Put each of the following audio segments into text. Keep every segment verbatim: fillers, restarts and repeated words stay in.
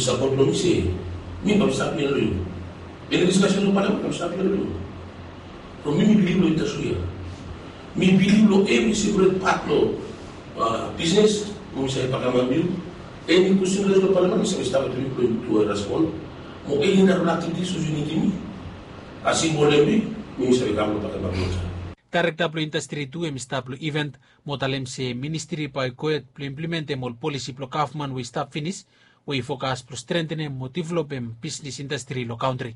Sapot blong mi se mi bamsap ya long yu. Eni diskasen long palamen bamsap ya long yu. From mi mi bilif long indastri ya. Mi bilif long evri separet pat long bisnes. Mi save bakamap yu. Eni kwestin long palamen mi save stap wetem yu blong yu tu respon. Mo eni narafala aktivitis we yu nidim mi, asem ol embi, mi save kam long bakamap yu. Daerekta blong indastri tu hem i stap long iven mo talem se ministri bae i gohed blong implementem ol polisi blong gavman we i stap finis, we i fokas blong strengtenem mo developem bisnis indastri long kantri.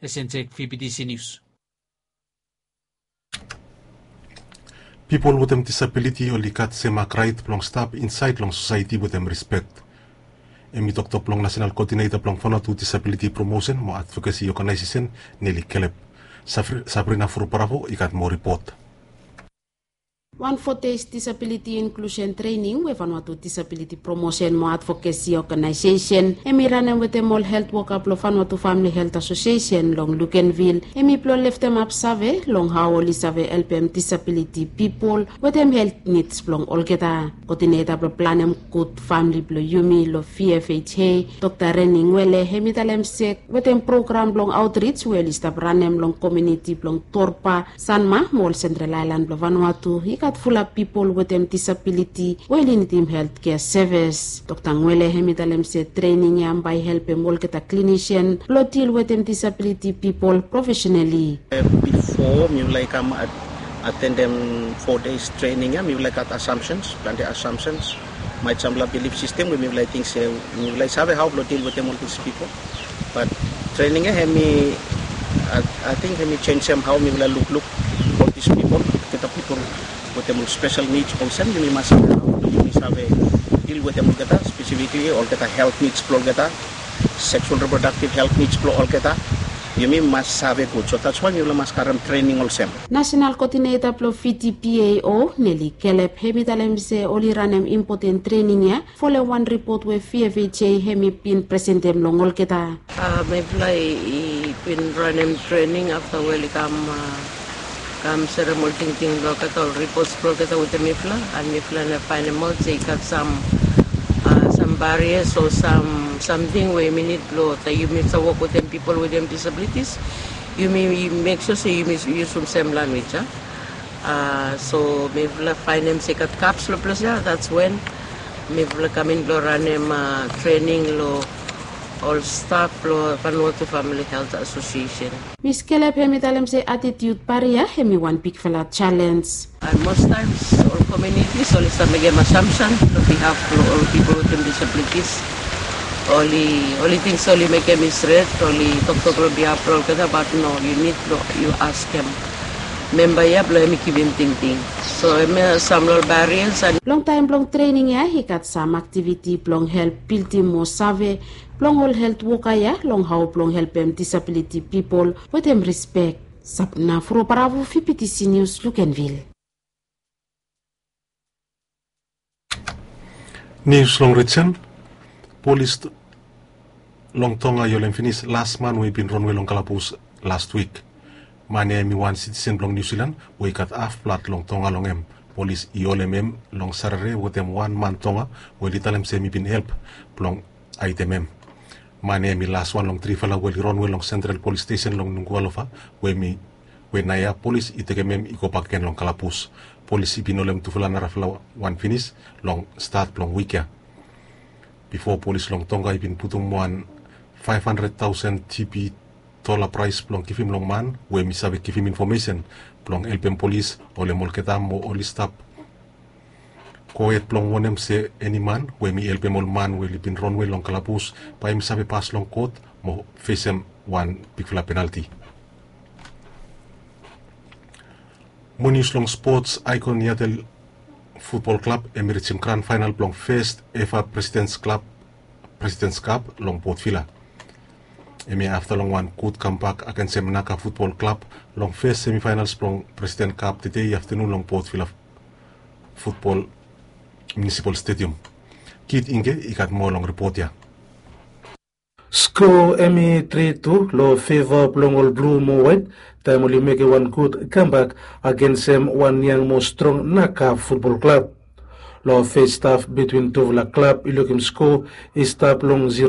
Esenjek, V B T C News. Pipol wetem disabiliti oli gat sem mak raet blong stap insaed long sosaeti wetem rispek. Hem i toktok blong nasenal koodineta blong Vanuatu Disabiliti Promosen mo Advokesi Oganaesesen, Neli Kelep. Sabrina Furuparavo i gat moa ripot. Wan fo dei disabiliti inklusen trening we Vanuatu Disabiliti Promosen mo Advokesi Oganaesesen hem i ranem wetem ol helt woka blong Vanuatu Famili Helt Asosiesen long Luganville, hem i blong leftemap save long hao oli save helpem disabiliti pipol wetem helt nids blong olgeta. Koodineta blong planem gud famili blong yumi long V F H A, Dokta Reni Ngwele, hem i talem se wetem program blong aotrij we oli stap ranem long komuniti blong Torba, Sanma mo ol Sentral Aelan blong Vanuatu i gat fulap pipol wetem disabiliti we oli nidim heltkea sevis. Dokta Ngwele hem i talem se trening ya bae i helpem olgeta klinisian blong dil wetem disabiliti pipol profesenali. Bifo mifala i kam atendem fo deis trening ya, mifala i gat asamsens, plante asamsens. Maet samfala bilif sistem we mifala i ting se mifala i save hao blong dil wetem ol dis pipol. Bat trening ya hem i, ating hem i jenisim hao mifala lukluk ol dis pipol, olgeta pipol wetem ol spesel nids olsem, yumi mas save hao blong yumi save dil wetem olgeta, spesifikli olgeta helt nids blong olgeta, seksual reprodaktiv helt nids blong olgeta. Yumi mas save gud, so dats wae mifala mas karem trening olsem. Nasenal koodineta blong V D P A O, Neli Kelep, hem i talem se oli ranem impoten trening ya folem wan ripot we V F H A hem i bin presentem long olgeta. Mifala i bin ranem trening afta we oli kam, kam serem ol tingting blong olgeta, ol ripots blong olgeta wetem mifala, and mifala nao faenem aot se i gat sam, sam barias o sam, samting we yumi nid blong, taem yumi save wok wetem pipol wetem disabilitis, yumi mek sua se yumi yusum sem lanwis ya. So mifala faenem se i gat gaps long ples ya, dats wen mifala kam in blong ranem trening long ol staf blong Vanuatu Famili Helt Asosiesen. Mis Kelep hem i talem se atitiud baria hem i wan bigfala jalenj. And most times ol komunitis oli stap mekem asamsen long bihaf blong ol pipol wetem disabilitis. Oli, oli ting se oli mekem i stret, oli toktok long bihaf blong olgeta, bat no, yu nid blong yu askem memba ya blong hem i givim tingting. So hemia sam long ol barias. And longtaem blong trening ya i gat sam aktiviti blong help bildim moa save blong ol helt woka ya long hao blong helpem disabiliti pipol wetem rispek. Sabrina Furuparavo, V B T C Nius, Luganville. Nius long rijen. Polis long Tonga i holem finis las man we i bin ronwe long kalabus las wik. Man ya hem i wan sitisen blong Niu Silan we i gat haf blad long Tonga long hem. Polis i holem hem long Satade wetem wan man Tonga we oli talem se hem i bin help blong haedem hem. Man ya hem i laswan long trifala we oli ronwe long Sentral Polis Stesen long Nuku'alofa, we hem i, we naoia polis i tekem hem i gobak gen long kalabus. Polis i bin holem tufala narafala wan finis long stat blong wik ya. Bifo, polis long Tonga i bin putum wan faef handred taosen G B dola praes blong givim long man we hem i save givim infomesen blong helpem polis holem olgeta mo oli stap gohed blong wonem se eni man we hem i helpem ol man we oli bin ronwe long kalabus bae hem i save pas long kot mo fesem wan bigfala penalti. Mo nius long spots, Aikon Yatel Futbol Klab hem i rijim gran faenal blong fes eva Presidens Klab, Presidens Kap long Port Vila. Hemia afta long wan gud kambak agensem Naka Futbol Klab long fes semifaenals blong President Kap tede aftenun long Port Vila Futbol Munisipal Stedium. Kit Ingke i gat moa long ripot ya. Sko hem i tri tu long feva blong ol blu mo waet taem oli mekem wan gud kambak agensem wan yang mo strong Naka Futbol Klab. Long fes haf bitwin tufala klab i lukim sko i stap long